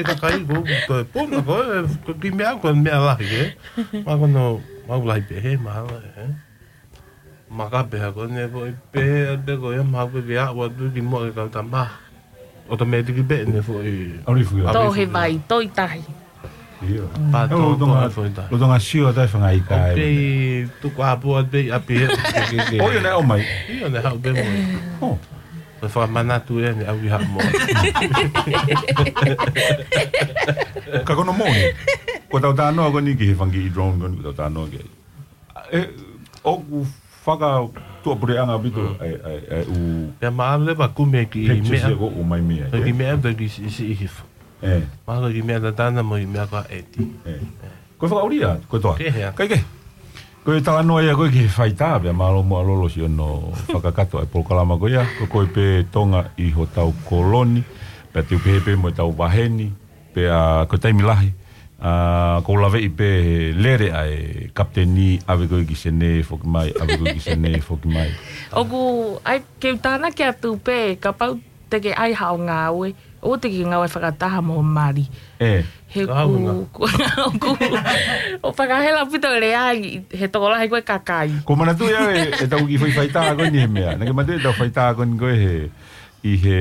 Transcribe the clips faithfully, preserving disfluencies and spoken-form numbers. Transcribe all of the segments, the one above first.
ʻE kakai ko, ko e puna ko e, ko e kiʻi meʻa, ko e meʻa lahi, ē? Ma ko no, mau lahi pē, he, mahalo, ē? Maka pē ha ko eni foʻi pē, pē ko ia, mau pē ke aʻu atu ki muʻa ke kau tama. Automatic pē eni foʻi. Auri fuki. Tō he vai, tō ʻi tahi. Io. Pā ʻOku tō, tō tonga, he foʻi tahi. ʻOku tonga sio atu e fanga ika ʻOku e. Pē tuku ʻapō atu pē ʻi ʻapi he. Ke, ke, ke. ʻOi, ʻo ne ʻomai. ʻIo, ne haʻu pē mo. ʻO. Ko e fakamanatu eni ʻa e ʻuhi haʻamo. Ka ko hono moʻoni, ko ʻetau talanoa ko eni ki he fanga kiʻi drone ko eni, ko ʻetau talanoa ki ai. ʻE, ʻoku fakatuʻapuleʻanga ʻaupito, Mm. ʻa e, ʻa e, ʻa e ʻū Pea maʻalu leva kumi e kiʻi pictures meʻa. ʻoku ʻomai mei ai, Ko e kiʻi ē? meʻa, ko e kiʻi si-, siʻi hifo. ʻE. Mahalo ko e kiʻi meʻa tatana mo e kiʻi meʻa ko ē ʻeti. ʻE. Ko e fakaʻulia, ko e toa. Kehe ā. Kai kehe. Ko e talanoa ia ko ē ki he faitā, pea mālō muʻa Lolo siʻono fakakakato ʻa e polokalama ko ia, ko koe pē Tonga ʻi hotau koloni, pea te u pehē pē mo ʻetau vaheni, pea ko e taimi lahi, ʻa, ʻoku ou laveʻi pē he lele ʻa e kapiteni, ʻave koe ki Senē foki mai, ʻave koe ki Senē foki mai. ʻOku, ʻai, ke u tānaki atu pē, kapau te ke ʻai haʻo ngāue, ʻoua te ke ngāue fakataha mo Mali. ʻE. He Ka au ku, na. ku, ku, ʻo fakahela ʻaupito e lea ʻi he tokolahi ko e kakai. Ko e manatu ia e, ʻetau kiʻi foʻi faitā ko eni he meʻa. Naʻa ke manatu ʻetau faitā ko eni ko ē he, ʻi he,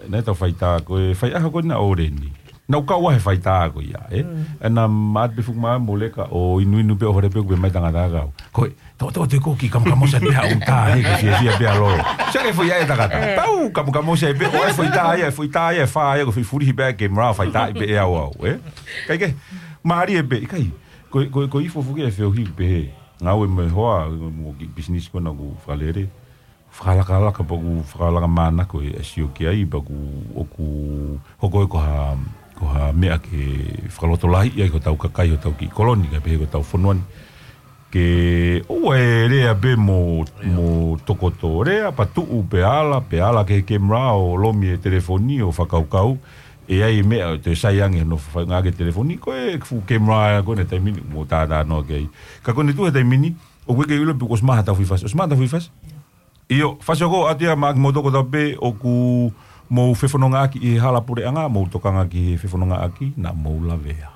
naʻe ʻetau faitā ko e faiʻaho ko ena ʻo Leni. Naʻa ku kau ai he faitā ko ia, ē? Mm. ʻE naʻa ma ʻoatu pē fuʻu maama mo leka ʻo inuinu pē ʻo hore pē kuo pehē mai tangata kau. Ko e, tō, tō, te ko ki kamukamo sa pē ha ʻuta he ke fiefia pē ʻa Lolo. Sai ke foʻi ʻa e tangata. ʻE. Tau kamukamo sa pē, ʻo e foʻi tā ia, foʻi tā ia, fā ia, ko e foʻi fulihi pē ke mara faitā ʻi pē ʻe au au, ē? Kai kehe, mālie pē, ʻikai. Ko, ko, ko e ifo foki e feohi pē he. Ngāue mo e hoa, mo e kiʻi business ko ena ʻoku fakalele. Fakalakalaka pea ʻoku fakalaka mānako e sio ki ai pea ʻoku, ʻoku hoko ē ko ha, ko ha meʻa ke fakalotolahiʻi ai hotau kakai, hotau kiʻi koloni, kae pehē ko hotau fonua ni. Ke ʻoua ʻe lea pē mo, mo tokoto lea, pea tuʻu pea ala, pea ala ki he kemera ʻo lomi e telefoni ʻo fakakaukau, ʻe ʻi ai e meʻa ʻe toe sai ange hono fakaʻaongaʻi e telefoni, ko e fuʻu kemera ko ena taimi ni mo tātānoa ki ai. Ka ko eni tuʻu he taimi ni, ʻoku ʻikai ke u ʻilo pe kuo ʻosi maʻu haʻatau foʻi fasi, ʻosi maʻu haʻatau foʻi fasi. ʻIo, fasi ʻoku ʻoatu ia maʻa kimoutolu kotoa pē ʻoku mou fefonongaʻaki ʻi he hala puleʻanga, mou tokanga ki he fefonongaʻaki naʻa mou lavea.